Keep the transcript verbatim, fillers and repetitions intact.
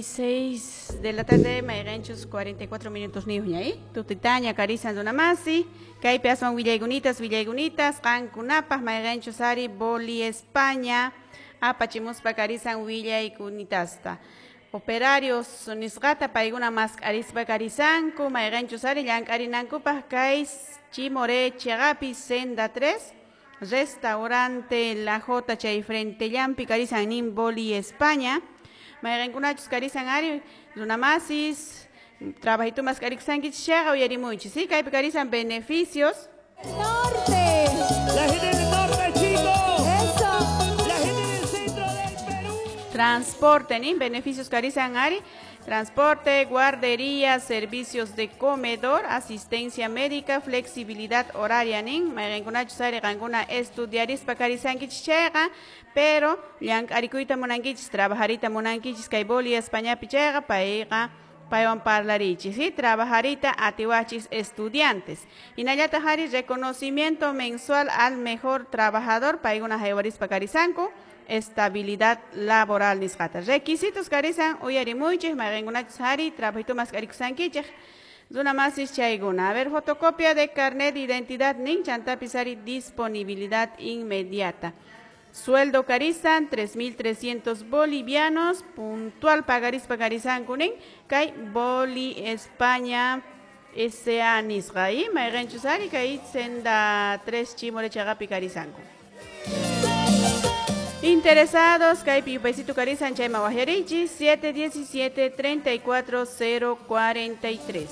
Seis de la tarde, mayqanchus cuarenta y cuatro minutos niyuqña, ¿eh? Tutitaña karisan runamasi, kaypi aswan willaykunitas, willaykunitas, qankunapaq mayqanchus ari Boli España, apachimuspa karisan willaykunitasta. Operarios nisqata paykuna mask'arispa karisanku, mayqanchus ari llank'arinankupaq kay Chimoré chiqapi Senda tres, Restaurante La Jota chay frente llampi karisan nin Boli España. Mayqankunachus karisan ari runamasis, trabajito mask'arikusankichis chayqa uyarimuychis, ¿sí? Kaypi karisan beneficios. Norte. La gente del norte, chicos. Eso. La gente del centro del Perú. Transporte, ¿ni? Beneficios karisan ari. Transporte, guardería, servicios de comedor, asistencia médica, flexibilidad horaria, nin. Mayqankunachus ari qankuna estudiarispa karisankichis chayqa, pero llank'arikuyta munankichis, trabajarita munankichis kay Boli Españapi chayqa, payqa paywan parlarichis, ¿sí? Trabajarita atiwachis estudiantes. Hinallataq ari reconocimiento mensual al mejor trabajador, paykuna haywarispa karisanku. Estabilidad laboral nisqata. Requisitos karisan uyarimuychis, mayqankunachus ari trabajito mask'arikusankichik. Runa masis chaykuna. A ver, fotocopia de carnet de identidad nin, chantapis ari disponibilidad inmediata. Sueldo karisan tres mil trescientos bolivianos, puntual pagarispa karisanku nin, kay Boli España S A nisqa. Y mayqanchus ari kay Senda tres Chimoré chaqapi karisanku. Interesados, kaypi yupaysito karisan chayman wajyarichis, siete diecisiete, treinta y cuatro, cero cuarenta y tres.